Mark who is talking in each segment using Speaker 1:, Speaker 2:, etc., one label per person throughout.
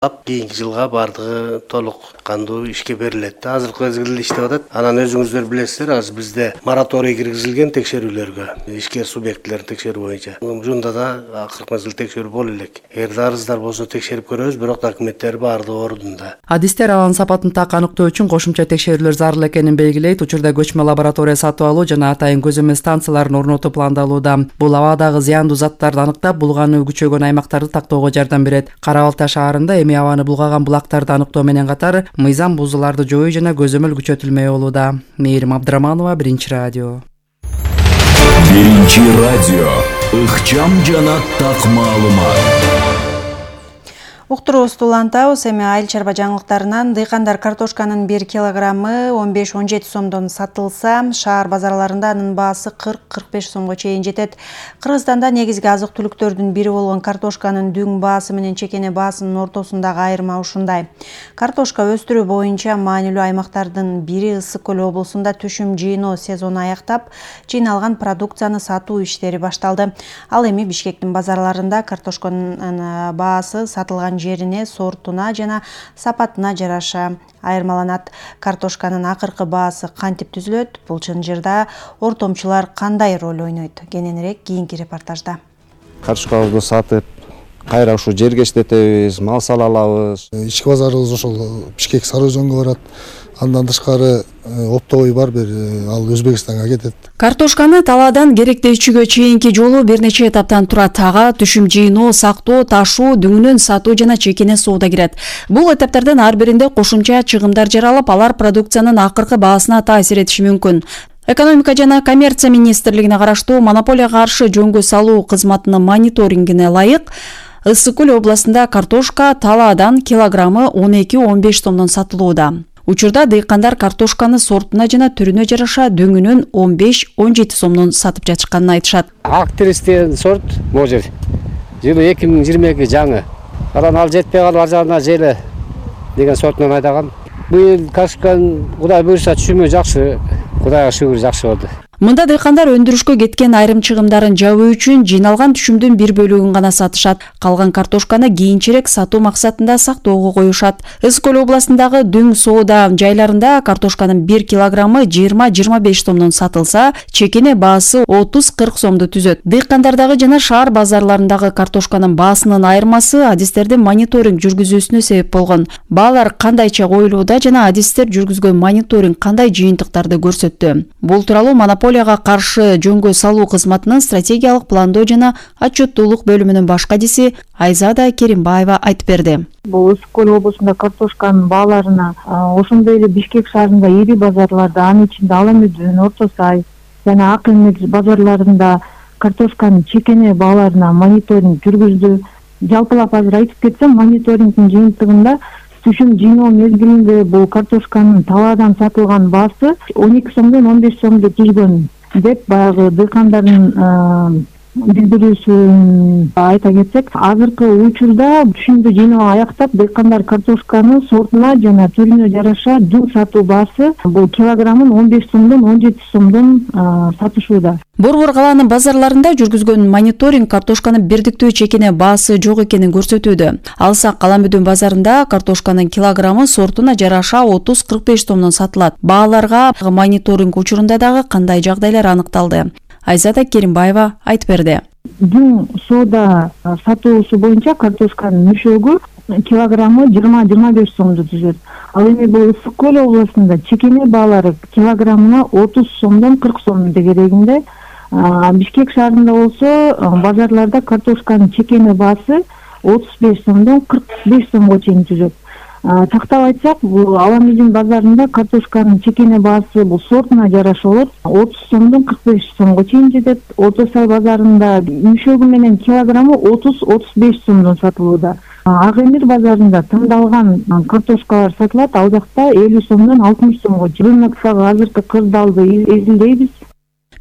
Speaker 1: Кийинки жылга бардыгы толук кандуу ишке берилет. Азыркы мезгилде иштеп атат. Анан өзүңүздөр билесиздер, азыр бизде мораторий киргизилген текшерүүлөргө, ишке субъектилерин текшерүү боюнча. Ушунда да акыркы мезгилде текшерүү боло элек. Эгерде арыздар болсо текшерип көрөбүз, бирок документтер баардыгы ордунда.
Speaker 2: Адистер алан сапатын так аныктоо үчүн кошумча текшерүүлөр зарыл экенин белгилейт. Учурда көчмө лаборатория сатып алуу жана атайын көзөмөл станцияларын орнотуу пландалууда. Бул абадагы зыяндуу заттарды аныктап, булгааны күчөгөн аймактарды тактоого жардам берет. Кара Балта шаарында абаны булгаган булактарды аныктоо менен катар мыйзам бузууларды жоюу жана көзөмөл күчөтүлмөй болууда. Мээрим Абдыраманова, Биринчи радио.
Speaker 3: Биринчи радио. Ыкчам жана так маалымат.
Speaker 4: Уктуруубузду улантабыз. Эми айыл чарба жаңылыктарынан дыйкандар картошканын 1 килограммы 15-17 сомдон сатылса, шаар базарларында анын баасы 40-45 сомго чейин жетет. Кыргызстанда негизги азык-түлүктөрдүн бири болгон картошканын дүң баасы менен чекене баасынын ортосундагы айырма ушундай. Картошка өстүрүү боюнча маанилүү аймактардын бири Ысык Көл облусунда түшүм жыйноо сезону аяктап, жыйналган продукцияны сатуу иштери башталды. Ал эми Бишкектин базарларында картошканын баасы сатылган жерине, сортуна жана сапатына жараша айырмаланат. Картошканын акыркы баасы кантип түзүлөт? Бул чынжырда ортомчулар кандай роль ойнойт? Кененирээк кийинки репортажда.
Speaker 5: Картошкабызды сатып, кайра ушу жерге иштетебиз, мал сала алабыз.
Speaker 6: Ички базарыбыз ошол Бишкек Сары Өзөнгө барат. Андан тышкары оптовый бар, бир ал Өзбекстанга кетет.
Speaker 7: Картошканы талаадан керектөөчүгө чейинки жолу бир нече этаптан турат. Ага түшүм жыйноо, сактоо, ташуу, дүңүнөн сатуу жана чекене соода кирет. Бул этаптардан ар биринде кошумча чыгымдар жаралып, алар продукциянын акыркы баасына таасир этиши мүмкүн. Экономика жана коммерция министрлигине караштуу монополияга каршы жөнгө салуу кызматынын мониторингине ылайык Ысык Көл областында картошка талаадан килограммы 12-15 сомдон сатылууда. Учурда дыйкандар картошканы сортуна жана түрүнө жараша дөңүнөн 15-17 сомдон сатып жатышканын айтышат.
Speaker 8: Актрис деген сорт бул жер. Жылы 2022 жаңы. Анан ал жетпей калып ар жагына желе деген сортунан айдаган. Быйыл картошканын Кудай буйруса түшүмү жакшы. Кудайга шүгүр жакшы болду.
Speaker 7: Мында дыйкандар өндүрүшкө кеткен айрым чыгымдарын жабуу үчүн жыйналган түшүмдүн бир бөлүгүн гана сатышат. Калган картошканы кийинчерээк сатуу максатында сактоого коюшат. Ысык Көл областындагы дүң соода жайларында картошканын 1 килограммы 20-25 сомдон сатылса, чекене баасы 30-40 сомду түзөт. Дыйкандардагы жана шаар базарларындагы картошканын баасынын айырмасы адистердин мониторинг жүргүзүүсүнө себеп болгон. Баалар кандайча коюлууда жана адистер жүргүзгөн мониторинг кандай жыйынтыктарды көрсөттү? Бул тууралуу монополияга каршы жөнгө салуу кызматынын стратегиялык пландоо жана отчеттуулук бөлүмүнүн баш кадиси Айзада Керимбаева айтып берди.
Speaker 9: Бул Ысык Көл облусунда картошканын бааларына ошондой эле Бишкек шаарында ири базарларда, анын ичинде Ала Мүдүн, Орто Сай жана Ак Эмет базарларында картошканын чекене бааларына мониторинг жүргүздү. Жалпылап азыр айтып кетсем, мониторингдин жыйынтыгында түшүм жыйноо мезгилинде бул картошканын талаадан сатылган баасы 12 сомдон 15 сомду түзгөн деп баягы дыйкандардын билдирүүсүн айта кетсек, азыркы учурда түшүмдү жыйноо аяктап, дыйкандар картошканы сортуна жана түрүнө жараша дүң сатуу баасы бул килограммын 15 сомдон 17 сомдон сатышууда.
Speaker 7: Борбор калаанын базарларында жүргүзгөн мониторинг картошканын бирдиктүү чекене баасы жок экенин көрсөтүүдө. Алсак Ала Мүдүн базарында картошканын килограммы сортуна жараша 30-45 сомдон сатылат. Бааларга мониторинг учурунда дагы кандай жагдайлар аныкталды? Айзада Керимбаева айтып берди.
Speaker 9: Дүң соода сатуусу боюнча картошканын мөшөгү килограммы 20-25 сомду түзөт. Ал эми бул Ысык Көл областында чекене баалары килограммына 30 сомдон 40 сом дегерегинде. Бишкек шаарында болсо базарларда картошканын чекене баасы 35 сомдон 45 сомго чейин түзөт. Тактап айтсак, бул Ала Мүдүн базарында картошканын чекене баасы бул сортуна жараша болот, 30 сомдон 45 сомго чейин жетет. Орто Сай базарында мөшөгү менен килограммы 30-35 сомдон сатылууда. Ак Эмет базарында тандалган картошкалар сатылат, ал жакта 50 сомдон 60 сомго. Рыноктогу азыркы кырдаалды изилдейбиз.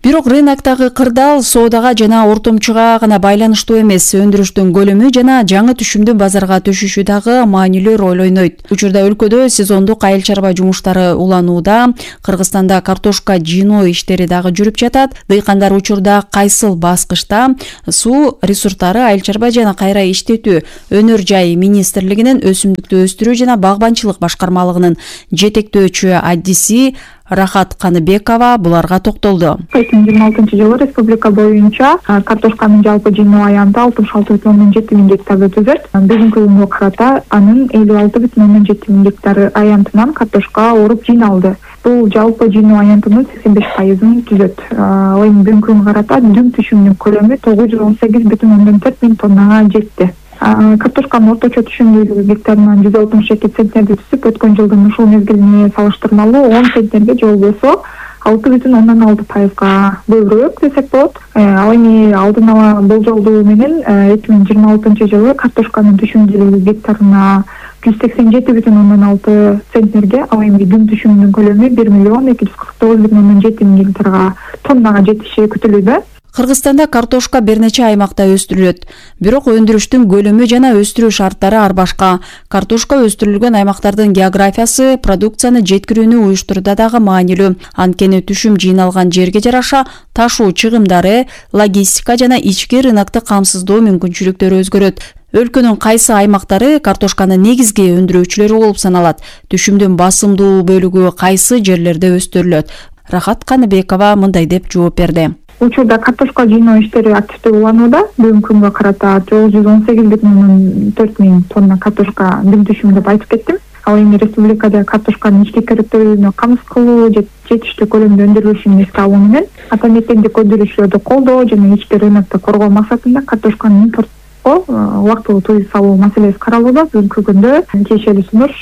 Speaker 7: Бирок рыноктогу кырдаал соодага жана ортомчуга гана байланыштуу эмес, өндүрүштүн көлөмү жана жаңы түшүмдүн базарга түшүшү дагы маанилүү роль ойнойт. Учурда өлкөдө сезондук айыл чарба жумуштары уланууда. Кыргызстанда картошка жыйноо иштери дагы жүрүп жатат. Дыйкандар учурда кайсыл баскычта суу ресурстары айыл чарба жана кайра иштетүү өнөр жай министрлигинин өсүмдүктү өстүрүү жана багбанчылык башкармалыгынын жетектөөчү аддиси Рахат Каныбекова буларга токтолду.
Speaker 10: 2026-жылы республика боюнча картошканын жалпы жыйноо аянты 66,7 миң гектарды түзөт. Бүгүнкү күнгө карата анын 56,7 миң гектары аянтынан картошка оруп жыйналды. Бул жалпы жыйноо аянтынын 85%-ын түзөт. Эми бүгүнкү күнгө карата дүң түшүмдүн көлөмү 918,4 миң тоннага жетти. Картошканын орточо түшүмдүүлүгү гектарынан 162 центнерди түзүп, өткөн жылдын ушул мезгилине салыштырмалуу 10 центнерге же болбосо 6,6%га көбүрөөк десек болот. Ал эми алдын ала болжолдуу менен 2026-жылы картошканын түшүмдүүлүгү гектарына 187,6 центнерге, ал эми дүң түшүмдүн көлөмү 1,249,7 миң гектарга тоннага жетиши күтүлүүдө.
Speaker 7: Кыргызстанда картошка бир нече аймакта өстүрүлөт. Бирок өндүрүштүн көлөмү жана өстүрүү шарттары ар башка. Картошка өстүрүлгөн аймактардын географиясы продукцияны жеткирүүнү уюштурууда дагы маанилүү. Анткени түшүм жыйналган жерге жараша ташуу чыгымдары, логистика жана ички рынокты камсыздоо мүмкүнчүлүктөрү өзгөрөт. Өлкөнүн кайсы аймактары картошканын негизги өндүрүүчүлөрү болуп саналат? Түшүмдүн басымдуу бөлүгү кайсы жерлерде өстүрүлөт? Рахат Каныбекова мындай деп жооп берди.
Speaker 10: Учурда картошка жыйноо иштери активдүү уланууда. Бүгүнкү күнгө карата 918,4 миң тонна картошка дүң түшүмү деп айтып кеттим. Ал эми республикада картошканын ички керектүүлүгүнө камсыз кылуу, жетиштүү көлөмдө өндүрүлүшүн эске алуу менен ата мектептик өндүрүүчүлөрдү колдоо жана ички рынокто коргоо максатында картошканын импортко убактылуу тыюу салуу маселеси каралууда. Бүгүнкү күндө тиешелүү сунуш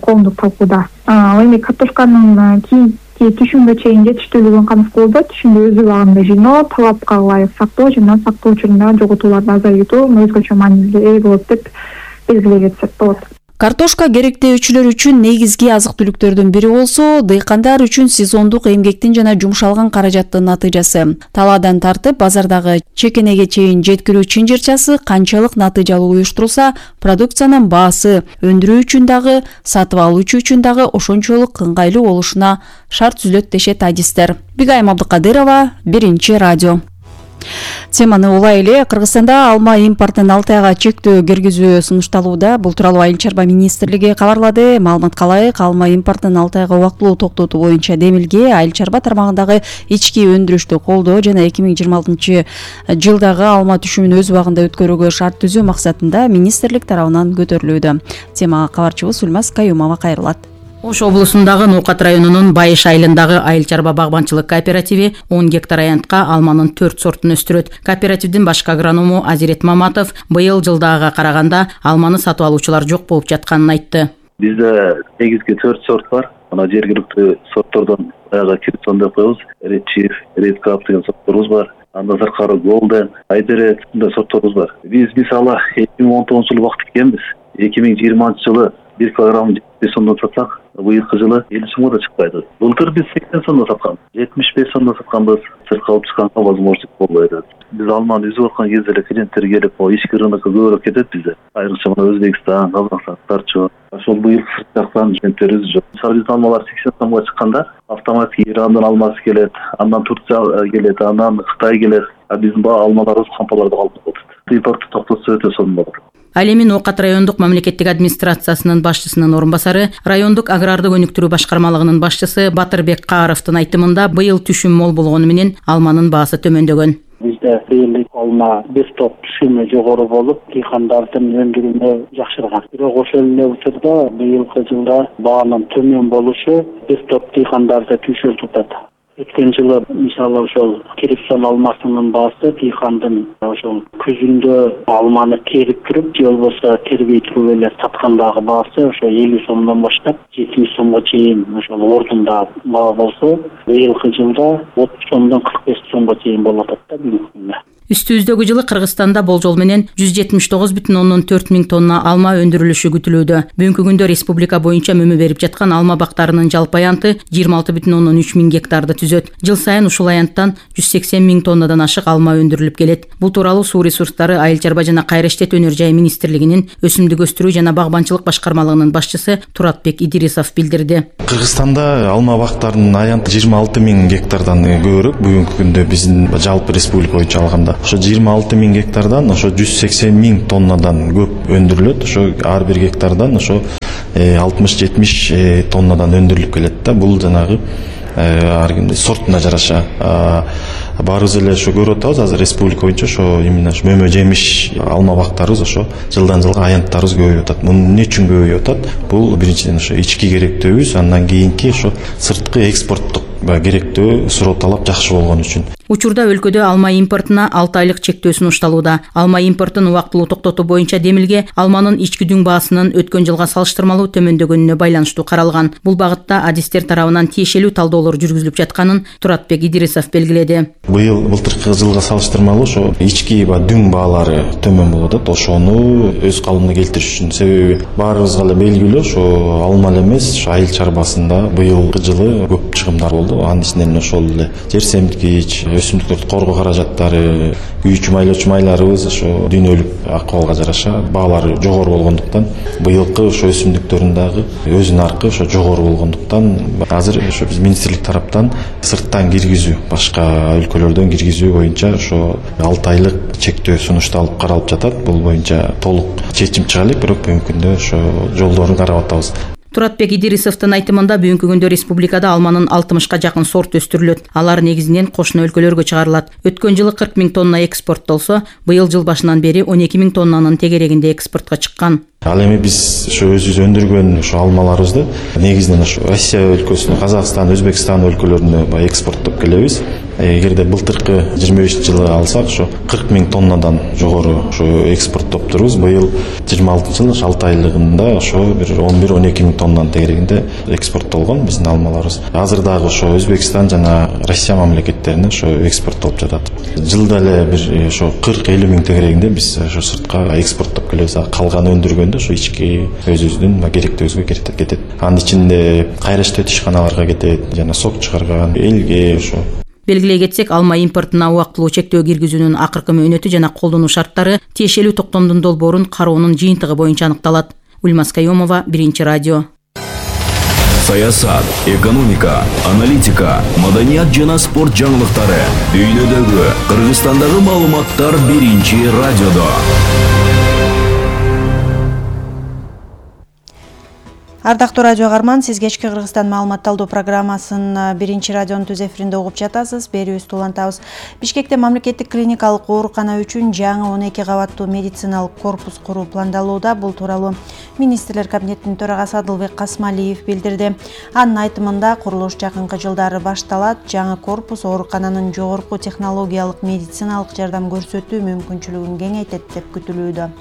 Speaker 10: коомдук талкууда. Ал эми картошканын түшүмгө чейин жетиштүүлүгүн камсыз кылууда. Түшүмдү өз убагында жыйноо, талапка ылайык сактоо жана сактоо учурунда жоготууларды азайтуу өзгөчө мааниге ээ болот деп белгилей кетсек болот.
Speaker 7: Картошка керектөөчүлөр үчүн негизги азык-түлүктөрдүн бири болсо, дыйкандар үчүн сезондук эмгектин жана жумшалган каражаттын натыйжасы. Талаадан тартып базардагы чекенеге чейин жеткирүү чынжырчасы канчалык натыйжалуу уюштурулса, продукциянын баасы өндүрүү үчүн дагы, сатып алуучу үчүн дагы ошончолук ыңгайлуу болушуна шарт түзүлөт дешет адистер. Бигайым Абдыкадырова, Биринчи радио. Теманы улай эле Кыргызстанда алма импортун 6 айга чектөө киргизүү сунушталууда. Бул тууралуу Айыл чарба министрлиги кабарлады. Маалыматка ылайык, алма импортун 6 айга убактылуу токтотуу боюнча демилге айыл чарба тармагындагы ички өндүрүштү колдоо жана 2026-жылдагы алма түшүмүн өз убагында өткөрүүгө шарт түзүү максатында министрлик тарабынан көтөрүлүүдө. Темага кабарчыбыз Үлмас Каюмова кайрылат.
Speaker 11: Ош облусундагы Ноокат районунун Байыш айылындагы айыл чарба багбанчылык кооперативи 10 гектар аянтка алманын 4 сортун өстүрөт. Кооперативдин башкы агроному Азирет Маматов быйыл жылдагыга караганда алманы сатып алуучулар жок болуп жатканын айтты.
Speaker 12: Бизде негизги 4 сорт бар. Мына жергиликтүү сорттордон аяга Кирсон деп коебуз. Ред Чиф, Ред Кап деген сортторубуз бар. Андан сырткары Голден, Айдерет мындай сортторубуз бар. Биз мисалы 2019-жылы убакыт экенбиз. 2020-жылы 1 килограмм 75 сомдон сатсак, быйылкы жылы 50 сомго да чыкпайды. Былтыр биз 80 сомдон саткан, 75 сомдон сатканбыз. Сыртка алып чыкканга возможность болбойт. Биз алманы үзүп аткан кезде эле клиенттер келип, ички рынокко көбүрөөк кетет бизде. Айрыкча мына Өзбекстан, Казакстан, Тарчу. Ошол быйыл сырт жактан клиенттер үзүп жок. Мисалы биз алмалар 80 сомго чыкканда, автоматик Ирандан алмасы келет, андан Турция келет, андан Кытай келет. А биздин алмаларыбыз кампаларда калып калат. Импорту токтотсо өтө сонун болот.
Speaker 11: Ал эми Ноокат райондук мамлекеттик администрациясынын башчысынын орун басары, райондук агрардык өнүктүрүү башкармалыгынын башчысы Батырбек Кааровдун айтымында быйыл түшүм мол болгону менен алманын баасы төмөндөгөн.
Speaker 13: Бизде быйыл алма бир топ түшүмү жогору болуп, дыйкандардын өндүрүүнү жакшырган. Бирок ошол эле учурда быйылкы жылда баанын төмөн болушу бир топ дыйкандарды түшүрүп. Өткөн жылы мисалы ошол Кирсон алмасынын баасы дыйкандын ошол күзүндө алманы терип туруп, же болбосо тербей туруп эле саткандагы баасы ошо 50 сомдон баштап 70 сомго чейин ошол ордунда баа болсо, быйылкы жылда 30 сомдон 45 сомго чейин болуп атат да бүгүнкү күндө.
Speaker 11: Үстүбүздөгү жылы Кыргызстанда болжол менен 179,4 миң тонна алма өндүрүлүшү күтүлүүдө. Бүгүнкү күндө республика боюнча мөмө берип жаткан алма бактарынын жалпы аянты 26,3 миң гектарды түзөт. Жыл сайын ушул аянттан 180 миң тоннадан ашык алма өндүрүлүп келет. Бул тууралуу Суу ресурстары, Айыл чарба жана Кайраштет өнөр жай министрлигинин өсүмдүк өстүрүү жана багбанчылык башкармалыгынын башчысы Туратбек Идирисов билдирди.
Speaker 14: Кыргызстанда алма бактарынын аянты 26 миң гектардан көбүрөөк. Бүгүнкү күндө биздин жалпы республика боюнча алганда ошо 26 миң гектардан ошо 180 миң тоннадан көп өндүрүлөт. Ошо ар бир гектардан ошо 60-70 тоннадан өндүрүлүп келет да. Бул жанагы ар кимдин сортуна жараша. Баарыбыз эле ошо көрүп атабыз, азыр республика боюнча ошо именно мөмө жемиш алма бактарыбыз ошо жылдан жылга аянттарыбыз көбөйүп атат. Муну эмне үчүн көбөйүп атат? Бул биринчиден ошо ички керектөөбүз, андан кийинки ошо сырткы экспорттук керектөө суроо талап жакшы болгон үчүн.
Speaker 11: Учурда өлкөдө алма импортуна 6 айлык чектөө сунушталууда. Алма импортун убактылуу токтотуу боюнча демилге алманын ички дүң баасынын өткөн жылга салыштырмалуу төмөндөгөнүнө байланыштуу каралган. Бул багытта адистер тарабынан тиешелүү талдоолор жүргүзүлүп жатканын Туратбек Идирисов белгиледи.
Speaker 14: Былтыркы жылга салыштырмалуу ошо ички дүң баалары төмөн болуп атат. Ошону өз калыбына келтириш үчүн, себеби баарыбызга эле белгилүү, ошо алма эле эмес, айыл чарбасында быйылкы жылы көп чыгымдар болду. Анын ичинен ошол эле жер семирткич, өсүмдүктөрдү коргоо каражаттары, күйүүчү майлоочу майларыбыз ошо дүйнөлүк акыбалга жараша баалары жогору болгондуктан, быйылкы ошо өсүмдүктөрдүн дагы өз наркы ошо жогору болгондуктан, азыр ошо биз министрлик тараптан сырттан киргизүү, башка өлкөлөрдөн киргизүү боюнча ошо 6 айлык чектөө сунушталып каралып жатат. Бул боюнча толук чечим чыга элек, бирок бүгүнкү күндө ошо жолдорун карап атабыз.
Speaker 11: Туратбек Идирисовдун айтымында бүгүнкү күндө республикада алманын 60ка жакын сорт өстүрүлөт. Алар негизинен кошуна өлкөлөргө чыгарылат. Өткөн жылы 40 миң тонна экспорттолсо, быйыл жыл башынан бери 12 миң тоннанын тегерегинде экспортко чыккан.
Speaker 14: Ал эми биз ошо өзүбүз өндүргөн ошо алмаларыбызды негизинен ошо Россия өлкөсүнө, Казакстан, Өзбекстан өлкөлөрүнө экспорттоп келебиз. Эгерде былтыркы 25-жылы алсак, ошо 40 миң тоннадан жогору ошо экспорттоптурбуз. Быйыл 26-жылы 6 айлыгында ошо бир 11-12 миң тоннанын тегерегинде экспорттолгон биздин алмаларыбыз. Азыр дагы ошо Өзбекстан жана Россия мамлекеттерине ошо экспорттолуп жатат. Жылда эле бир ошо 40-50 миң тегерегинде биз ошо сыртка экспорттоп келебиз. Калганы өндүргөндө ошо ички өзүбүздүн керектөөбүзгө кетет. Анын ичинде Кайраштет ишканаларга кетет, жана сок чыгарган элге ошо.
Speaker 11: Белгилей кетсек, алма импортуна убактылуу чектөө киргизүүнүн акыркы мөөнөтү жана колдонуу шарттары тиешелүү токтомдун долбоорун кароонун жыйынтыгы боюнча аныкталат. Ульмас Кайомова, Биринчи радио.
Speaker 3: Саясат, экономика, аналитика, маданият жана спорт жаңылыктары, дүйнөдөгү, Кыргызстандагы маалыматтар Биринчи радиодо.
Speaker 4: Ардактуу радио каарман, сиз кечки Кыргызстан маалыматталдоо программасын Биринчи радионун түз эфиринде угуп жатасыз. Берүүбүздү улантабыз. Бишкекте мамлекеттик клиникалык оорукана үчүн жаңы 12 кабаттуу медициналык корпус куруу пландалууда. Бул тууралуу министрлер кабинетинин төрагасы Адылбек Касмалиев билдирди. Анын айтымында курулуш жакынкы жылдары башталат. Жаңы корпус оорукананын жогорку технологиялык медициналык жардам көрсөтүү мүмкүнчүлүгүн кеңейтет деп күтүлүүдө.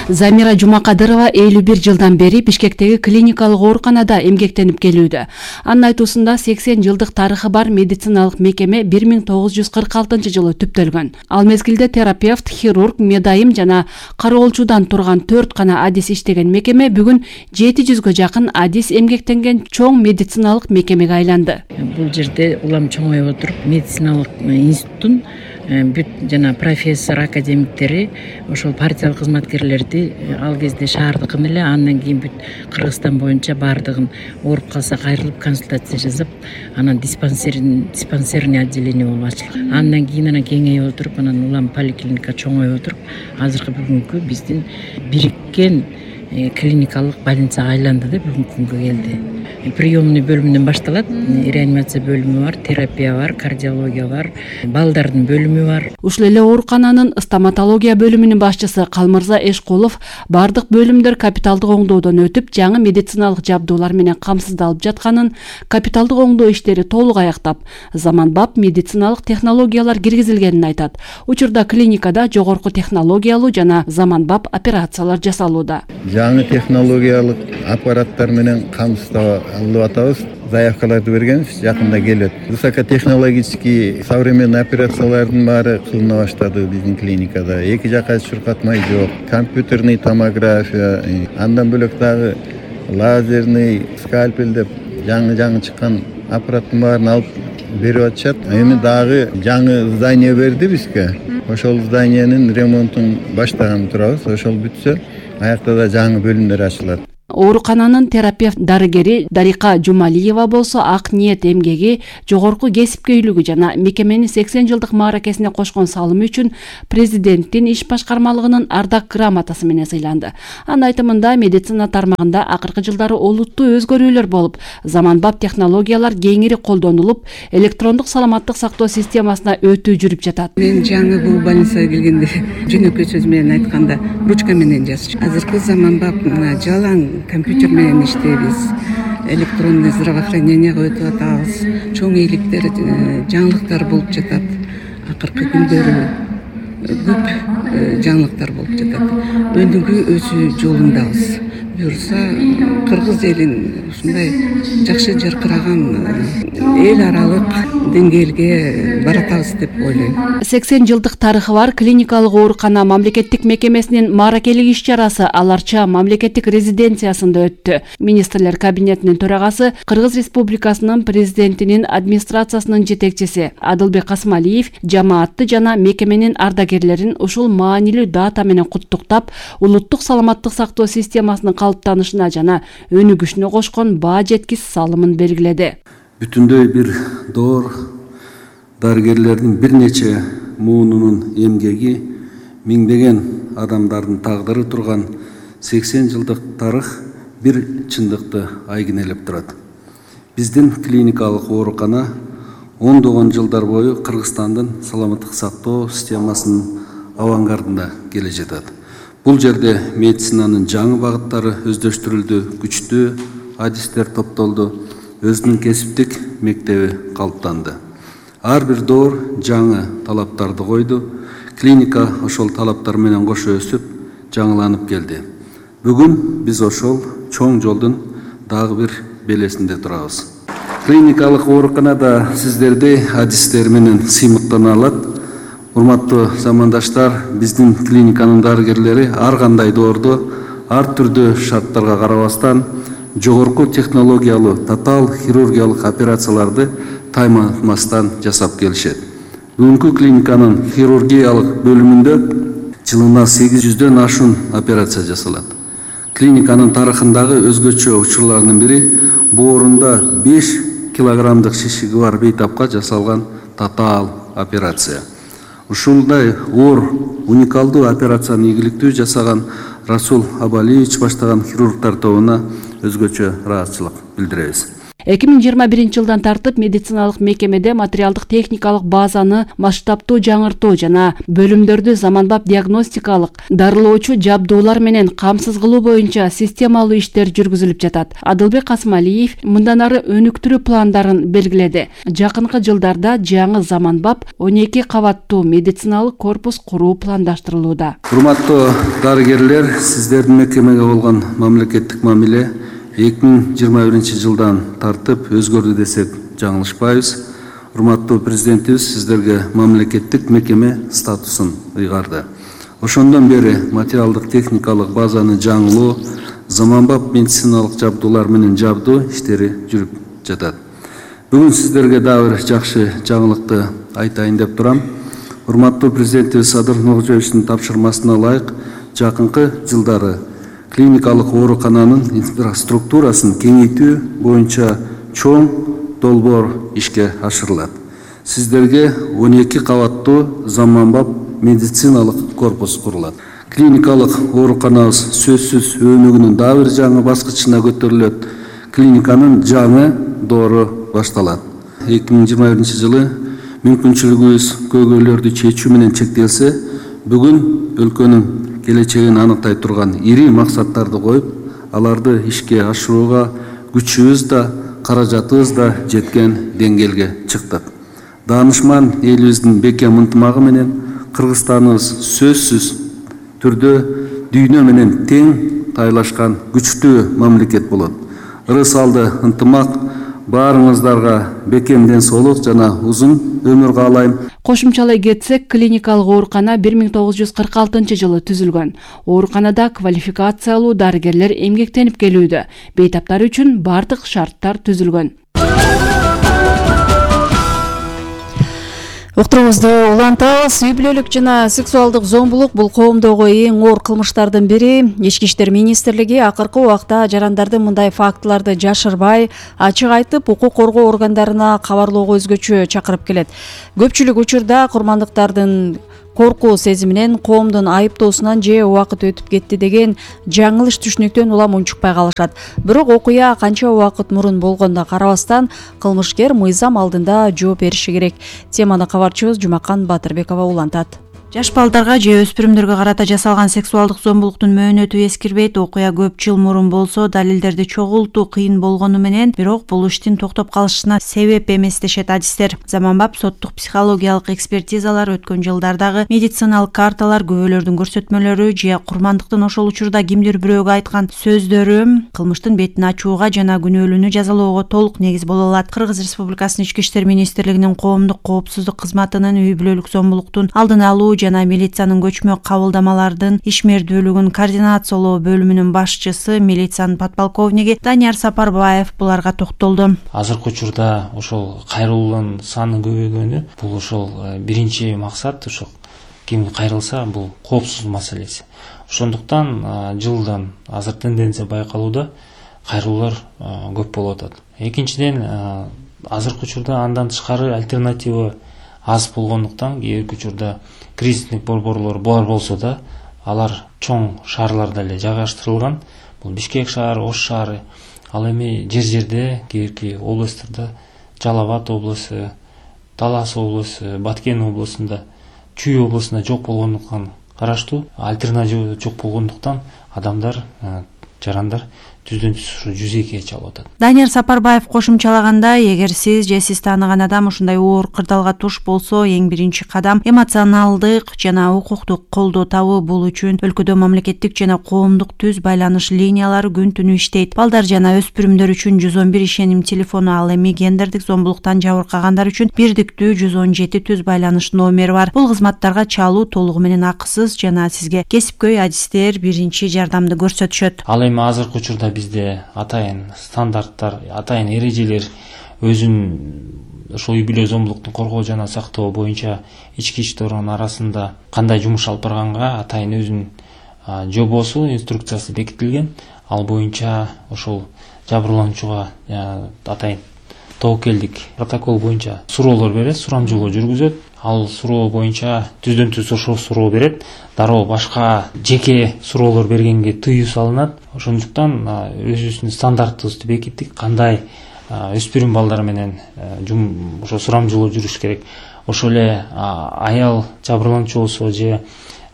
Speaker 7: Замира Жумакадырова 51 жылдан бери Бишкектеги клиникалык ооруканада эмгектенип келүүдө. Анын айтуусунда 80 жылдык тарыхы бар медициналык мекеме 1946-жылы түптөлгөн. Ал мезгилде терапевт, хирург, медайым жана кароолчудан турган 4 гана адис иштеген мекеме бүгүн 700гө жакын адис эмгектенген чоң медициналык мекемеге айланды.
Speaker 15: Бул жерде улам чоңоюп отуруп, медициналык институттун бүт жана профессор академиктери, ошол партиялык кызматкерлерди ал кезде шаардыкын эле, андан кийин бүт Кыргызстан боюнча баардыгын ооруп калса кайрылып консультация жасап, анан диспансерный отделение болуп ачылган. Андан кийин кеңейип отуруп, анан улам поликлиника чоңоюп отуруп, азыркы бүгүнкү биздин бириккен клиникалык больницага айланды да бүгүнкү күнгө келди. Приемный бөлүмүнөн башталат. Реанимация бөлүмү бар, терапия бар, кардиология бар, балдардын бөлүмү бар.
Speaker 7: Ушул эле оорукананын стоматология бөлүмүнүн башчысы Калмырза Эшкулов бардык бөлүмдөр капиталдык оңдоодон өтүп, жаңы медициналык жабдуулар менен камсыздалып жатканын, капиталдык оңдоо иштери толук аяктап, заманбап медициналык технологиялар киргизилгенин айтат. Учурда клиникада жогорку технологиялуу жана заманбап операциялар жасалууда.
Speaker 16: Жаңы технологиялык аппараттар менен камсыздалып атабыз. заявкаларды бергенбиз, жакында келет. Высокотехнологический современный операциялардын баары кылына баштады биздин клиникада. Эки жака чуркатмай жок, компьютерный томография, андан бөлөк дагы лазерный скальпель деп жаңы чыккан аппараттын баарын алып берип атышат. Эми дагы жаңы здание берди бизге. Ошол зданиянын ремонтун баштаган турабыз. Ошол бүтсө, аякта да жаңы бөлүмдөр ачылат.
Speaker 7: Оорукананын терапевт дарыгери Дарика Жумалиева болсо ак ниет эмгеги, жогорку кесипкөйлүгү жана мекеменин 80 жылдык мааракесине кошкон салымы үчүн президенттин иш башкармалыгынын ардак грамотасы менен сыйланды. Анын айтымында медицина тармагында акыркы жылдары олуттуу өзгөрүүлөр болуп, заманбап технологиялар кеңири колдонулуп, электрондук саламаттык сактоо системасына өтүү жүрүп жатат.
Speaker 15: Мен жаңы бул больницага келгенде жөнөкөй сөз менен айтканда ручка менен жазчу. Азыркы заманбап жалаң компьютер менен иштейбиз, электронный здравоохранениеге өтүп атабыз, чоң ийгиликтер, жаңылыктар болуп жатат. Акыркы күндөрү көп жаңылыктар болуп жатат. Өнүгүү өсүү жолундабыз. Буюрса кыргыз элин ушундай жакшы жаркыраган эл аралык деңгээлге баратабыз деп ойлойм.
Speaker 7: 80 жылдык тарыхы бар клиникалык оорукана мамлекеттик мекемесинин мааракелик иш-чарасы Аларча мамлекеттик резиденциясында өттү. Министрлер кабинетинин төрагасы, Кыргыз Республикасынын президентинин администрациясынын жетекчиси Адылбек Касымалиев жамаатты жана мекеменин ардагерлерин ушул маанилүү дата менен куттуктап, улуттук саламаттык сактоо системасынын калыптанышына жана өнүгүшүнө кошкон баа жеткис салымын белгиледи.
Speaker 17: Бүтүндөй бир доор дарыгерлердин бир нече муунунун эмгеги, миңдеген адамдардын тагдыры турган 80 жылдык тарых бир чындыкты айгинелеп турат. Биздин клиникалык оорукана ондогон жылдар бою Кыргызстандын саламаттык сактоо системасынын авангардында келе жатат. Бул жерде медицинанын жаңы багыттары өздөштүрүлдү, күчтүү адистер топтолду, өзүнүн кесиптик мектеби калыптанды. Ар бир доор жаңы талаптарды койду. Клиника ошол талаптар менен кошо өсүп, жаңыланып келди. Бүгүн биз ошол чоң жолдун дагы бир белесинде турабыз. Клиникалык ооруканада сиздерди адистер менен сыймыктана алат. Урматтуу замандаштар, биздин клиниканын дарыгерлери ар кандай доорду, ар түрдүү шарттарга карабастан жогорку технологиялуу татаал хирургиялык операцияларды тайматмастан жасап келишет. Бүгүнкү клиниканын хирургиялык бөлүмүндө жылына 800дөн ашуун операция жасалат. Клиниканын тарыхындагы өзгөчө учурлардын бири боорунда 5 килограммдык шишиги бар бейтапка жасалган татаал операция. Ушундай оор уникалдуу операцияны ийгиликтүү жасаган Расул Абалиевич баштаган хирургтар тобуна өзгөчө ыраазычылык билдиребиз.
Speaker 7: 2021 жылдан тартып медициналык мекемеде материалдык техникалык базаны масштабтуу жаңыртуу жана бөлүмдөрдү заманбап диагностикалык, дарылоочу жабдуулар менен камсыз кылуу боюнча системалуу иштер жүргүзүлүп жатат. Адылбек Касымалиев мындан ары өнүктүрүү пландарын белгиледи. Жакынкы жылдарда жаңы заманбап 12 кабаттуу медициналык корпус куруу пландаштырылууда.
Speaker 17: Урматтуу дарыгерлер, сиздердин мекемеге болгон мамлекеттик мамиле 2021 жылдан тартып өзгөрдү десек жаңылышпайбыз. Урматтуу президентибиз сиздерге мамлекеттик мекеме статусун ыйгарды. Ошондон бери материалдык техникалык базаны жаңылоо, заманбап медициналык жабдуулар менен жабдуу иштери жүрүп жатат. Бүгүн сиздерге дагы бир жакшы жаңылыкты айтайын деп турам. Урматтуу президентибиз Садыр Нуркожоевичтин тапшырмасына ылайык жакынкы жылдары клиникалык оорукананын инфраструктурасын кеңейтүү боюнча чоң долбоор ишке ашырылат. Сиздерге 12 кабаттуу заманбап медициналык корпус курулат. Клиникалык ооруканабыз сөзсүз өнүгүүнүн дагы бир жаңы баскычына көтөрүлөт. Клиниканын жаңы доору башталат. 2021 жылы мүмкүнчүлүгүбүз көйгөйлөрдү чечүү менен чектелсе, бүгүн өлкөнүн келечегин аныктай турган ири максаттарды коюп, аларды ишке ашырууга күчүбүз да, каражатыбыз да жеткен деңгээлге чыктык. Даанышман элибиздин бекем ынтымагы менен Кыргызстаныбыз сөзсүз түрдө дүйнө менен тең тайлашкан күчтүү мамлекет болот. Ырыс алды ынтымак баарыңыздарга бекем ден соолук жана узун өмүр каалайм.
Speaker 7: Кошумчалай кетсек, клиникалык оорукана 1946 жылы түзүлгөн. Ооруканада квалификациялуу дарыгерлер эмгектенип келүүдө. Бейтаптар үчүн бардык шарттар түзүлгөн. Уктуруубузду улантабыз. Үй бүлөлүк жана сексуалдык зомбулук бул коомдогу эң оор кылмыштардын бири. Ички иштер министрлиги акыркы убакта жарандардын мындай фактыларды жашырбай, ачык айтып, укук коргоо органдарына кабарлоого өзгөчө чакырып келет. Көпчүлүк учурда курмандыктардын коркуу сезиминен, коомдун айыптоосунан же убакыт өтүп кетти деген жаңылыш түшүнүктөн улам унчукпай калышат. Бирок окуя канча убакыт мурун болгонуна карабастан, кылмышкер мыйзам алдында жооп бериши керек. Теманы кабарчыбыз Жумакан Батырбекова улантат.
Speaker 4: Жаш балдарга же өспүрүмдөргө карата жасалган сексуалдык зомбулуктун мөөнөтү эскирбейт. Окуя көп жыл мурун болсо, далилдерди чогултуу кыйын болгону менен, бирок бул иштин токтоп калышына себеп эмес дешет адистер. Заманбап соттук психологиялык экспертизалар, өткөн жылдардагы медициналык карталар, күбөлөрдүн көрсөтмөлөрү же курмандыктын ошол учурда кимдир бирөөгө айткан сөздөрү кылмыштын бетин ачууга жана күнөөлүүнү жазалоого толук негиз боло алат. Кыргыз Республикасынын Ички иштер министрлигинин коомдук коопсуздук кызматынын үй бүлөлүк зомбулуктун алдын алуу жана милициянын көчмө кабылдамалардын ишмердүүлүгүн координациялоо бөлүмүнүн башчысы, милициянын подполковниги Данияр Сапарбаев буларга токтолду.
Speaker 18: Азыркы учурда ошол кайрылуунун саны көбөйгөнү, бул ошол биринчи максат, ошол ким кайрылса бул коопсуз маселеси. Ошондуктан жылдан азыр тенденция байкалууда, кайрылуулар көп болуп атат. Экинчиден, азыркы учурда андан тышкары альтернатива аз болгондуктан кээ бир учурда кризисник борборлор бар болсо да, алар чоң шаарларда эле жайгаштырылган. Бул Бишкек шаары, Ош шаары, ал эми жер-жерде, кээ бирки областтарда, Жалал Абад облусу, Талас облусу, Баткен облусунда, Чүй облусунда жок болгондуктан караштуу, альтернатива жок болгондуктан адамдар, жарандар түздөн түз 102 чалып атат.
Speaker 4: Данияр Сапарбаев кошумчалаганда, эгер сиз же сиз тааныган адам ушундай оор кырдаалга туш болсо, эң биринчи кадам эмоционалдык жана укуктук колдоо табуу. Бул үчүн өлкөдө мамлекеттик жана коомдук түз байланыш линиялары күн түнү иштейт. Балдар жана өспүрүмдөр үчүн 111 ишеним телефону, ал эми гендердик зомбулуктан жабыркагандар үчүн бирдиктүү 117 түз байланыш номери бар. Бул кызматтарга чалуу толугу менен акысыз жана сизге кесипкөй адистер биринчи жардамды көрсөтүшөт.
Speaker 18: Ал эми азыркы учурда бизде атайын стандарттар, атайын эрежелер өзүн ошол үй бүлө зомбулуктун коргоо жана сактоо боюнча ички иштер орган арасында кандай жумуш алып барганга атайын өзүнүн жобосу, инструкциясы бекитилген. Ал боюнча ошол жабырлануучуга атайын тобокелдик протокол боюнча суроолор берет, сурамжылоо жүргүзөт. Ал суроо боюнча түздөн түз ошол суроо берет. Дароо башка жеке суроолор бергенге тыюу салынат. Ошондуктан өзүбүздүн стандарттыбызды бекиттик. Кандай өспүрүм балдар менен ошо сурамжылоо жүрүш керек. Ошол эле аял жабырлануучу болсо же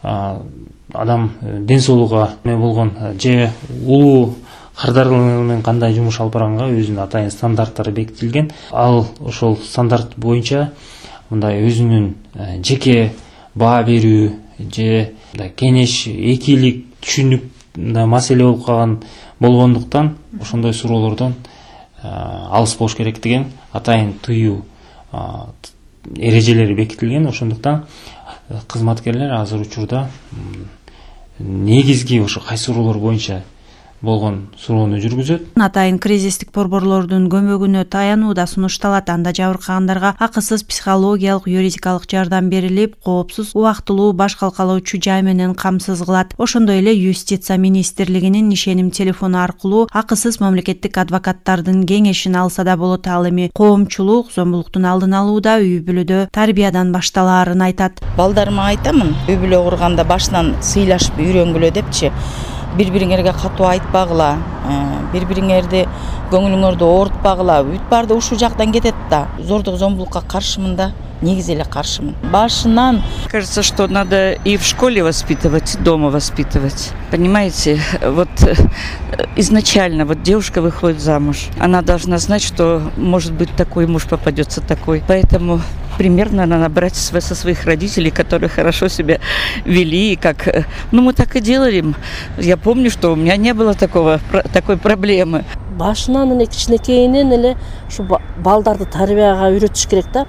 Speaker 18: адам ден соолугуга болгон же улуу кардарлар менен кандай жумуш алып барганга өзүнүн атайын стандарттары бекитилген. Ал ошол стандарт боюнча мындай өзүнүн жеке баа берүү же кеңеш, экилик, түшүнүк маселе болуп калган болгондуктан ошондой суроолордон алыс болуш керек деген атайын тыюу эрежелери бекитилген. Ошондуктан кызматкерлер азыр учурда негизги ошо кайсы суроолор боюнча болгон суроону жүргүзөт.
Speaker 4: Атайын кризистик борборлордун көмөгүнө таянуу да сунушталат. Анда жабыркагандарга акысыз психологиялык, юридикалык жардам берилип, коопсуз, убактылуу баш калкалоочу жай менен камсыз кылат. Ошондой эле Юстиция министрлигинин ишеним телефону аркылуу акысыз мамлекеттик адвокаттардын кеңешин алса да болот. Ал эми коомчулук зомбулуктун алдын алууда үй бүлөдө тарбиядан башталаарын айтат.
Speaker 19: Балдарыма айтамын, үй бүлө курганда башынан сыйлашып үйрөнгүлө депчи. Бири-бириңерге катуу айтпагыла, бири-бириңерди көңүлүңөрдү оорутпагыла. Бүт барды ушул жактан кетет да. Зордук зомбулукка каршымын да, негизи эле каршымын. Башынан
Speaker 20: кажется, что надо и в школе воспитывать, и дома воспитывать. Понимаете, вот изначально вот девушка выходит замуж. Она должна знать, что может быть такой муж попадется такой. Поэтому примерно надо брать со своих родителей, которые хорошо себя вели, как, мы так и делали. Я помню, что у меня не было такой проблемы.
Speaker 21: Башынан эле кичинекейинен эле ушу балдарды тарбияга үйрөтүш керек да.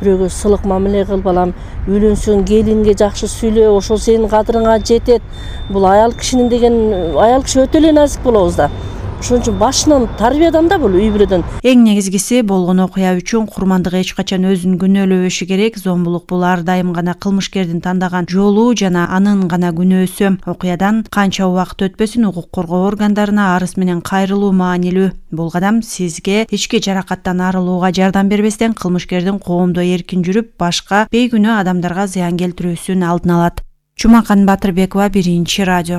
Speaker 21: Бирөөгө сылык мамиле кыл, балам, үйлөнсөң келинге жакшы сүйлө, ошол сенин кадырыңа жетет. Бул аял кишинин деген, аял киши өтө эле назик болобуз да. Ошон үчүн башынан тарбиядан да бул үй бүлөдөн.
Speaker 4: Эң негизгиси болгон окуя үчүн курмандык эч качан өзүн күнөөлөбөшү керек. Зомбулук бул ар дайым гана кылмышкердин тандаган жолу жана анын гана күнөөсү. Окуядан канча убакыт өтпөсүн укук коргоо органдарына арыз менен кайрылуу маанилүү. Бул кадам сизге ички жаракаттан арылууга жардам бербестен кылмышкердин коомдо эркин жүрүп, башка бейгүнөө адамдарга зыян келтирүүсүн алдын алат. Чумакан Батырбекова, Биринчи радио.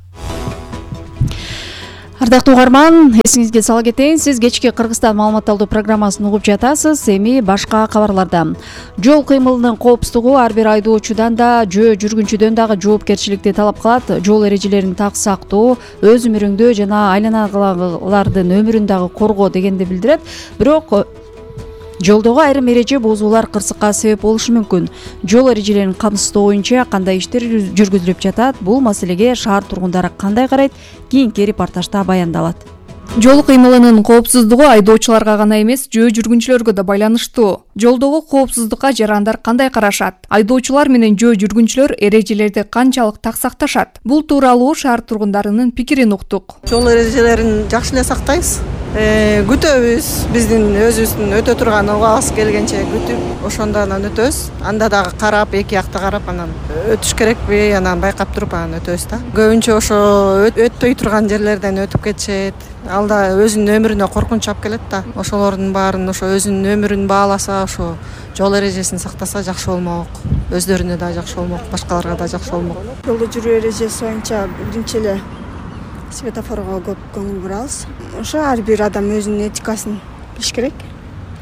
Speaker 7: Ардактуу угарман, эсиңизге сала кетейин, сиз кечки Кыргызстан маалымат алуу программасын угуп жатасыз. Эми башка кабарларда. Жол кыймылынын коопсуздугу ар бир айдоочудан да, жөө жүргүнчүдөн дагы жоопкерчиликти талап кылат. Жол эрежелерин так сактоо, өз өмүрүңдү жана айланагылардын өмүрүн дагы коргоо дегенди билдирет. Бирок жолдогу айрым эреже бузуулар кырсыкка себеп болушу мүмкүн. Жол эрежелерин камсыздоо боюнча кандай иштер жүргүзүлүп жатат? Бул маселеге шаар тургундары кандай карайт? Кийинки репортажда баяндалат.
Speaker 22: Жол кыймылынын коопсуздугу айдоочуларга гана эмес, жөө жүргүнчүлөргө да байланыштуу. Жолдогу коопсуздукка жарандар кандай карашат? Айдоочулар менен жөө жүргүнчүлөр эрежелерди канчалык так сакташат? Бул тууралуу шаар тургундарынын пикирин уктук.
Speaker 23: Жол эрежелерин жакшы эле сактайбыз. Күтөбүз, биздин өзүбүздүн өтө турган убагыбыз келгенче күтүп, ошондо анан өтөбүз. Анда дагы карап, эки жакта карап, анан өтүш керекпи, анан байкап туруп анан өтөбүз да. Көбүнчө ошо өтпөй турган жерлерден өтүп кетишет. Ал да өзүнүн өмүрүнө коркунуч алып келет да. Ошолордун баарын ошо өзүнүн өмүрүн бааласа, ошо жол эрежесин сактаса жакшы болмок. Өздөрүнө да жакшы болмок, башкаларга да жакшы болмок.
Speaker 24: Жолдо жүрүү эрежеси боюнча биринчи эле светофорго көп көңүл бурабыз. Ошо ар бир адам өзүнүн этикасын билиш керек.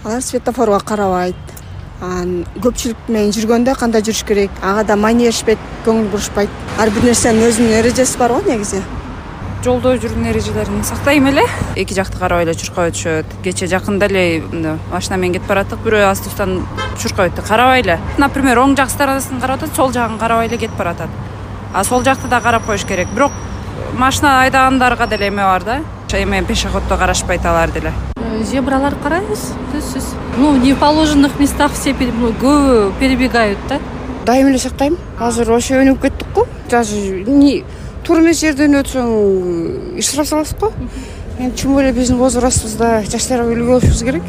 Speaker 24: Алар светофорго карабайт. Көпчүлүк менен жүргөндө кандай жүрүш керек? Ага да маанилешпейт, көңүл бурушпайт. Ар бир нерсенин өзүнүн эрежеси бар го негизи.
Speaker 25: Жолдо жүрүүнүн эрежелерин сактайм эле. Эки жакты карабай эле чуркап өтүшөт. Кече жакында эле машина менен кетип бараттык, бирөө астыбыздан чуркап өттү. Карабай эле. Например, оң жак сторонасын карап атат, сол жагын карабай эле кетип баратат. Сол жакты да карап коюш керек. Бирок машина айдагандарга деле эме бар да. Эме пешеходдо карашпайт алар деле.
Speaker 26: Зебралар карайбыз, түзсүз. Не в положенных местах все перебегают, да?
Speaker 24: Дайым эле сактайм. Азыр ошо өнүгүп кеттик го. Даже туура эмес жерден өтсөң штраф саласыз го. Чүм эле биздин возрастыбызда жаштарга үлгү болушубуз керек.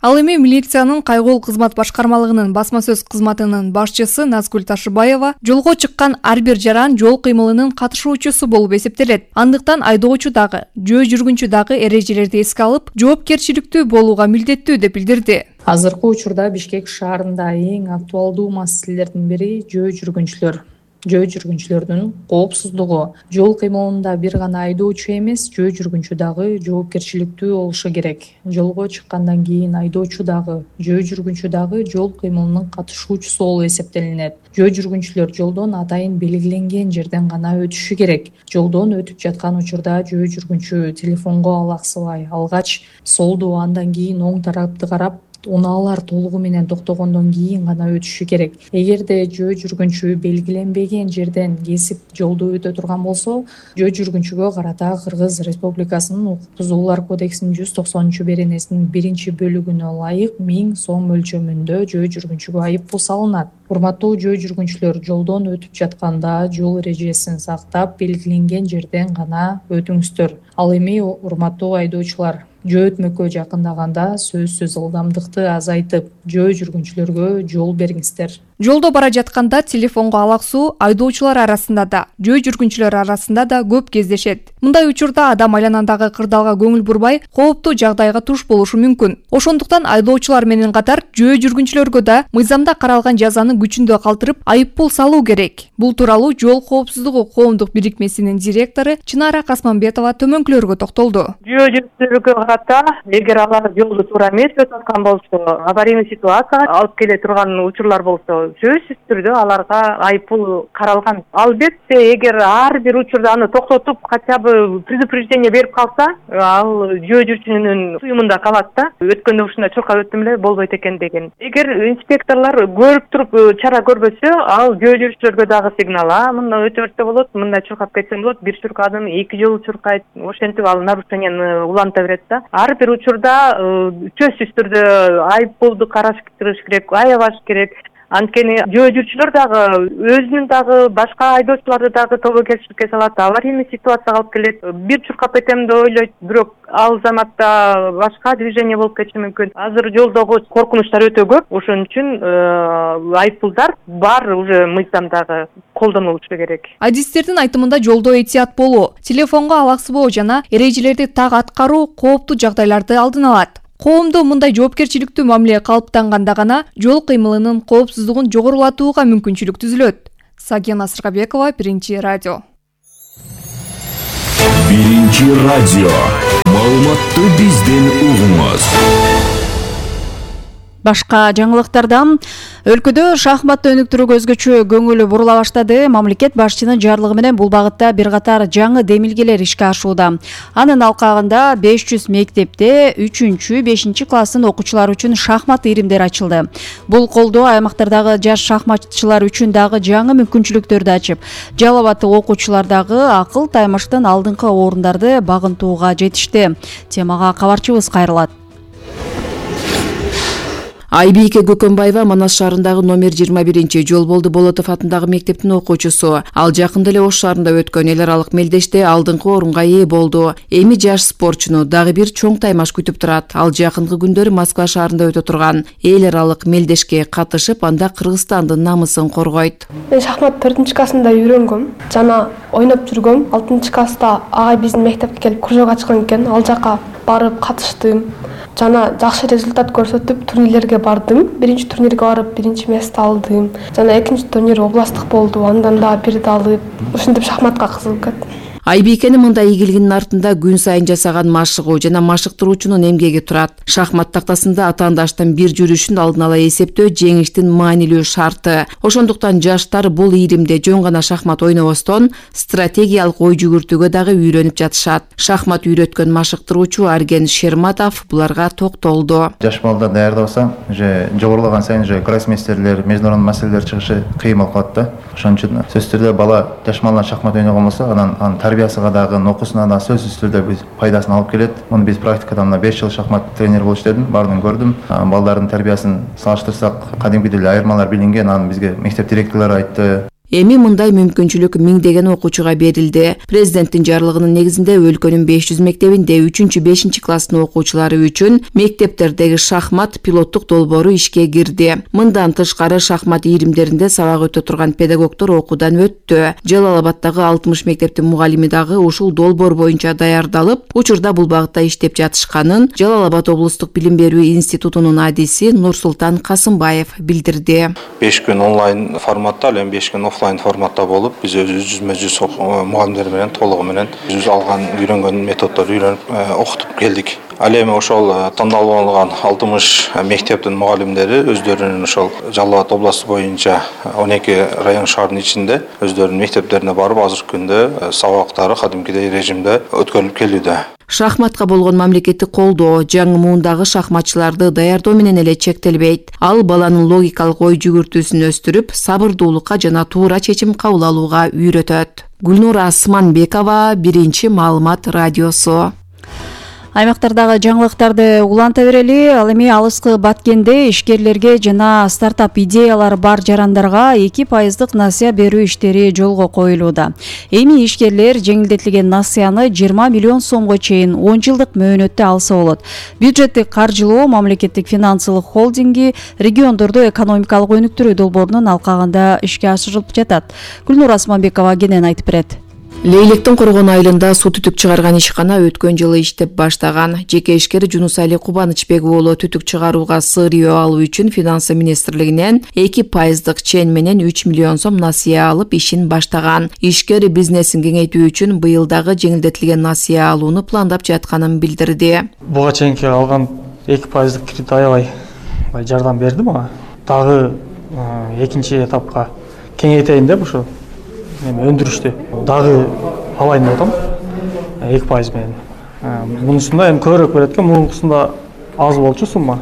Speaker 22: Ал эми милициянын кайгыл кызмат башкармалыгынын басма сөз кызматынын башчысы Назгүл Ташыбаева жолго чыккан ар бир жаран жол кыймылынын катышуучусу болуп эсептелет. Андыктан айдоочу дагы, жөө жүргүнчү дагы эрежелерди эске алып, жоопкерчиликтүү болууга милдеттүү деп билдирди.
Speaker 27: Азыркы учурда Бишкек шаарында эң актуалдуу маселелердин бири жөө жүргүнчүлөр. Жөө жүргүнчүлөрдүн коопсуздугу. Жол кыймылында бир гана айдоочу эмес, жөө жүргүнчү дагы жоопкерчиликтүү болушу керек. Жолго чыккандан кийин айдоочу дагы, жөө жүргүнчү дагы жол кыймылынын катышуучусу болуп эсептелинет. Жөө жүргүнчүлөр жолдон атайын белгиленген жерден гана өтүшү керек. Жолдон өтүп жаткан учурда жөө жүргүнчү телефонго алаксыбай алгач, солду, андан кийин оң тарапты карап, унаалар толугу менен токтогондон кийин гана өтүшү керек. Эгерде жөө жүргүнчү белгиленбеген жерден кесип жолду өтө турган болсо, жөө жүргүнчүгө карата Кыргыз Республикасынын укук бузуулар кодексинин 190-беренесинин 1-бөлүгүнө ылайык 1000 сом мөлчөмүндө жөө жүргүнчүгө айыппул салынат. Урматтуу жөө жүргүнчүлөр, жолдон өтүп жатканда жол эрежесин сактап, белгиленген жерден гана өтүңүздөр. Ал эми урматтуу айдоочулар, жөө өтмөккө жакындаганда сөзсүз ылдамдыкты азайтып, жөө жүргүнчүлөргө жол бериңиздер.
Speaker 22: Жолдо бара жатканда телефонго алаксуу айдоочулар арасында да, жөө жүргүнчүлөр арасында да көп кездешет. Мындай учурда адам айланадагы кырдаалга көңүл бурбай, кооптуу жагдайга туш болушу мүмкүн. Ошондуктан айдоочулар менен катар жөө жүргүнчүлөргө да мыйзамда каралган жазаны күчүндө калтырып, айыппул салуу керек. Бул тууралуу Жол коопсуздугу коомдук бирикмесинин директору Чынара Касманбетова төмөнкүлөргө токтолду.
Speaker 28: Жөө жүргүнчүлөргө карата, эгер алар жолду туура эмес өтүп аткан болсо, аварийный ситуация алып келе турган учурлар болсо, сөзсүз түрдө аларга айыппул каралган. Албетте эгер ар бир учурда аны токтотуп хотя бы предупреждение берип калса, ал жөө жүрчүнүн суюмунда калат да. Өткөндө ушундай чуркап өттүм эле болбойт экен деген. Эгер инспекторлор көрүп туруп чара көрбөсө, ал жөө жүрчүлөргө дагы сигнал. Мында өтө берсе болот, мындай чуркап кетсем болот. Бир чуркадым, 2 жолу чуркайт. Ошентип ал нарушенияны уланта берет да. Ар бир учурда сөзсүз түрдө айыппулду караштырыш керек, аябаш керек. Анткени жөө жүрчүлөр дагы өзүнүн дагы башка айдоочуларды дагы тобокелчиликке салат, аварийный ситуацияга алып келет. Бир чуркап кетем деп ойлойт, бирок ал заматта башка движение болуп кетиши мүмкүн. Азыр жолдогу коркунучтар өтө көп, ошон үчүн айыппулдар бар уже мыйзамдагы колдонулушу керек.
Speaker 22: Адистердин айтымында жолдо этият болуу, телефонго алаксыбоо жана эрежелерди так аткаруу кооптуу жагдайларды алдын алат. Коомдо мындай жоопкерчиликтүү мамиле калыптанганда гана жол кыймылынын коопсуздугун жогорулатууга мүмкүнчүлүк түзүлөт. Сагена Сыргабекова, Биринчи радио.
Speaker 3: Биринчи радио. Маалыматты бизден угуңуз.
Speaker 7: Башка жаңылыктардан өлкөдө шахмат өнүктүрүүгө өзгөчө көңүл бурула баштады. Мамлекет башчынын жарлыгы менен бул багытта бир катар жаңы демилгелер ишке ашууда. Анын алкагында 500 мектепте 3-5 класстын окуучулары үчүн шахмат иримдери ачылды. Бул колдоо аймактардагы жаш шахматчылар үчүн дагы жаңы мүмкүнчүлүктөрдү ачып, Жалал Абадтык окуучулар дагы акыл таймаштан алдыңкы орундарды багынтууга жетишти. Темага кабарчыбыз кайрылат. Айбийке Көкөнбаева Манас шаарындагы номер 21 Жолболду Болотов атындагы мектептин окуучусу. Ал жакында эле Ош шаарында өткөн эл аралык мелдеште алдыңкы орунга ээ болду. Эми жаш спортчуну дагы бир чоң таймаш күтүп турат. Ал жакынкы күндөрү Москва шаарында өтө турган эл аралык мелдешке катышып, анда Кыргызстандын намысын коргойт.
Speaker 1: Мен шахмат 4-классында үйрөнгөм жана ойноп жүргөм. 6-класста агай биздин мектепке келип кружок ачкан экен. Ал жака барып катыштым. Жана жакшы результат көрсөтүп турнирлерге бардым. Биринчи турнирге барып биринчи место алдым. Жана экинчи турнир областтык болду. Андан да бирди алып, ушинтип шахматка кызыгып кеттим.
Speaker 7: Айбикенин мындай ийгилигинин артында күн сайын жасаган машыгуу жана машыктыруучунун эмгеги турат. Шахмат тактасында атаандаштын бир жүрүшүн алдын ала эсептөө жеңиштин маанилүү шарты. Ошондуктан жаштар бул ийримде жөн гана шахмат ойнобостон, стратегиялык ой жүгүртүүгө дагы үйрөнүп жатышат. Шахмат үйрөткөн машыктыруучу Арген Шерматов буларга токтолду.
Speaker 2: Жаш балдар даярдабасаң, уже жогорулаган сайын уже гроссмейстерлер, международный маселелер чыгышы кыйын болуп калат да. Ошон үчүн сөзсүз түрдө бала жаш балдар шахмат ойногон болсо, анан тарбиясыга дагы, окуусуна да сөзсүз түрдө биз пайдасын алып келет. Муну биз практикада мына 5 жыл шахмат тренер болуп иштедим, баарын көрдүм. Балдардын тарбиясын салыштырсак, кадимкидей эле айырмалар билинген, аны бизге мектеп директорлору айтты.
Speaker 7: Эми мындай мүмкүнчүлүк миңдеген окуучуга берилди. Президенттин жарлыгынын негизинде өлкөнүн 500 мектебинде 3-5 класстын окуучулары үчүн мектептердеги шахмат пилоттук долбоору ишке кирди. Мындан тышкары шахмат ийримдеринде сабак өтө турган педагогдор окуудан өттү. Жалал Абадтагы 60 мектептин мугалими дагы ушул долбоор боюнча даярдалып, учурда бул багытта иштеп жатышканын Жалал Абад облустук билим берүү институтунун адиси Нурсултан Касымбаев билдирди.
Speaker 5: 5 күн онлайн форматта, ал эми 5 күн офлайн форматта болуп, биз өзүбүз мугалимдер менен толугу менен биз алган үйрөнгөн методдорду үйрөнүп окутуп келдик. Ал эми ошол тандалып алынган 60 мектептин мугалимдери өздөрүнүн ошол Жалал Абад областы боюнча 12 район шаардын ичинде өздөрүнүн мектептерине барып, азыркы күндө сабактары кадимкидей режимде өткөрүлүп келүүдө.
Speaker 7: Шахматка болгон мамлекеттик колдоо жаңы муундагы шахматчыларды даярдоо менен эле чектелбейт. Ал баланын логикалык ой жүгүртүүсүн өстүрүп, сабырдуулукка жана туура чечим кабыл алууга үйрөтөт. Гүлнура Асманбекова, Биринчи маалымат радиосу. Аймактардагы жаңылыктарды уланта берели. Ал эми алыскы Баткенде ишкерлерге жана стартап идеялары бар жарандарга 2% насыя берүү иштери жолго коюлууда. Эми ишкерлер жеңилдетилген насыяны 20 миллион сомго чейин 10 жылдык мөөнөттө алса болот. Бюджеттик каржылоо мамлекеттик финансылык холдинги региондорду экономикалык өнүктүрүү долбоорунун алкагында ишке ашырылып жатат. Гүлнура Асманбекова кенен айтып берет. Лейлектин Коргон айылында суу түтүк чыгарган ишкана өткөн жылы иштеп баштаган. Жеке ишкер Жунусали Кубанычбек уулу түтүк чыгарууга сырыйоо алуу үчүн финансы министрлигинен 2% чен менен 3 миллион сом насыя алып ишин баштаган. Ишкер бизнесин кеңейтүү үчүн быйыл дагы жеңилдетилген насыя алууну пландап жатканын билдирди.
Speaker 6: Буга чейинки алган 2% кредит аябай жардам берди мага. Дагы экинчи этапка кеңейтейин деп ушу өндүрүштү дагы алайын деп атам 2% менен. Мунусунда эми көбүрөөк берет экен, мурункусунда аз болчу сумма.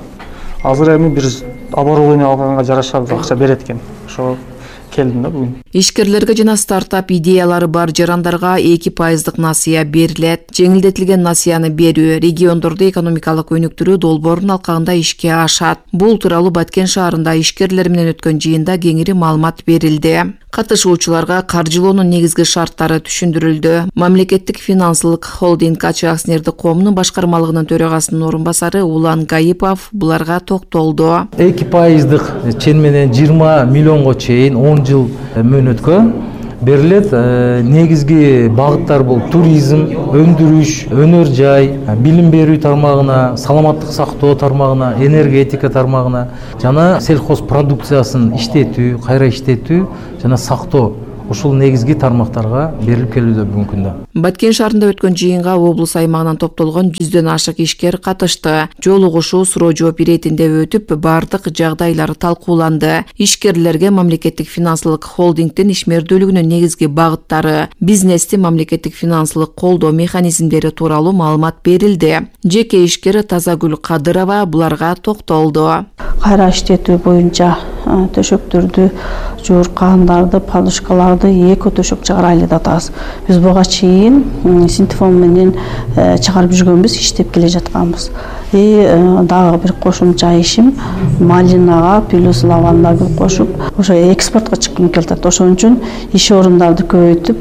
Speaker 6: Азыр эми бир оборудование алганга жараша акча берет экен. Ошо келдим да бүгүн.
Speaker 8: Ишкерлерге жана стартап идеялары бар жарандарга 2% насыя берилет. Жеңилдетилген насыяны берүү региондорду экономикалык өнүктүрүү долбоорунун алкагында ишке ашат. Бул тууралуу Баткен шаарында ишкерлер менен өткөн жыйында кеңири маалымат берилди. Катышуучуларга каржылоонун негизги шарттары түшүндүрүлдү. Мамлекеттик финансылык холдинг АЧ акционердик коомунун башкармалыгынын төрагасынын орун басары Улан Гаипов буларга токтолду.
Speaker 9: 2%дык чен менен 20 миллионго чейин 10 жыл мөөнөткө берилет. Негизги багыттар бул туризм, өндүрүш, өнөр жай, билим берүү тармагына, саламаттык сактоо тармагына, энергетика тармагына жана сельхоз продукциясын иштетүү, кайра иштетүү жана сактоо. Ушул негизги тармактарга берилип келүүдө бүгүнкү күндө.
Speaker 8: Баткен шаарында өткөн жыйынга облус аймагынан топтолгон 100дөн ашык ишкер катышты. Жолугушуу суроо жооп иретинде өтүп, бардык жагдайлар талкууланды. Ишкерлерге мамлекеттик финансылык холдингдин ишмердүүлүгүнүн негизги багыттары, бизнести мамлекеттик финансылык колдоо механизмдери тууралуу маалымат берилди. Жеке ишкер Тазагүл Кадырова буларга токтолду.
Speaker 10: Кайра иштетүү боюнча төшөктөрдү, жууркандарды, подушкаларды эко төшөк чыгарайлы деп атабыз. Биз буга чейин синтефон менен чыгарып жүргөнбүз, иштеп келе жатканбыз. Дагы бир кошумча ишим малинага плюс лавандагы кошуп, ошо экспортко чыккым келет. Ошон үчүн иш орундарды көбөйтүп,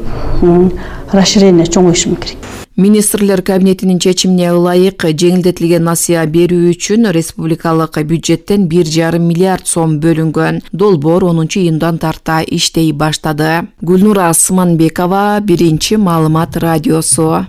Speaker 10: расширение чоңойтушум керек.
Speaker 8: Министрлер кабинетинин чечимине ылайык жеңилдетилген насыя берүү үчүн республикалык бюджеттен 1,5 миллиард сом бөлүнгөн. Долбоор 10-июндан тарта иштей баштады. Гүлнура Сыманбекова, Биринчи маалымат радиосу.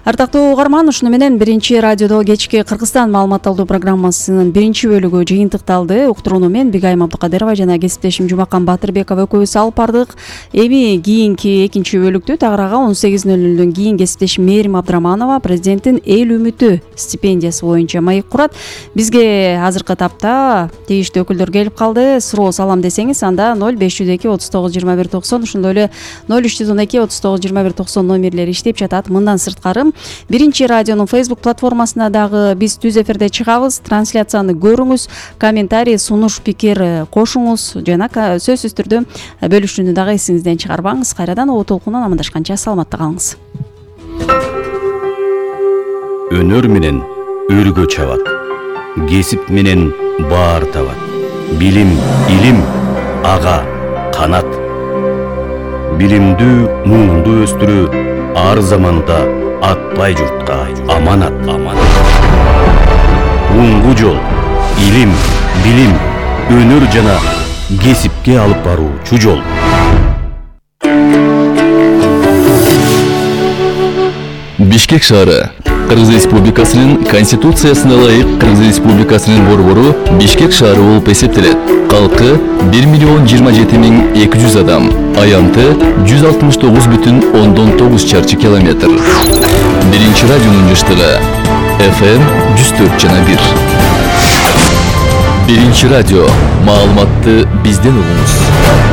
Speaker 4: Артактуу угарман, ушуну менен Биринчи радиодо кечки Кыргызстан маалымат алуу программасынын биринчи бөлүгү жыйынтыкталды. Уктурууну мен Бигайым Абдыкадырова жана кесиптешим Жумакан Батырбеков экөөбүз алып бардык. Эми кийинки экинчи бөлүктү тагырага 18:00 кийин кесиптешим Мээрим Абдыраманова президенттин Эл үмүтү стипендиясы боюнча маек курат. Бизге азыркы тапта тийиштүү өкүлдөр келип калды. Суроо салам десеңиз, анда 0502 39 21 90, ошондой эле 0312 39 21 90 номерлери иштеп жатат. Мындан сырткары Биринчи радионун Facebook платформасына дагы биз түз эфирде чыгабыз. Трансляцияны көрүңүз, комментарий, сунуш, пикир кошуңуз жана сөзсүз түрдө бөлүшүүнү дагы эсиңизден чыгарбаңыз. Кайрадан О толкундан амандашканча саламатта калыңыз.
Speaker 11: Өнөр менен өргө чабат, кесип менен баар табат. Билим, илим, ага, канат. Билимдүү, муунду өстүрүү ар заманда атпай журтка аманат. Уңгу жол, илим, билим, өнөр жана кесипке алып баруучу жол.
Speaker 12: Бишкек шаары Кыргыз Республикасынын Конституциясына ылайык Кыргыз Республикасынын борбору Бишкек шаары болуп эсептелет. Калкы 1,27,200 адам. Аянты 169,9 чарчы километр. Биринчи радионун жыштыгы FM 104,1. Биринчи радио. Маалыматты бизден угуңуз.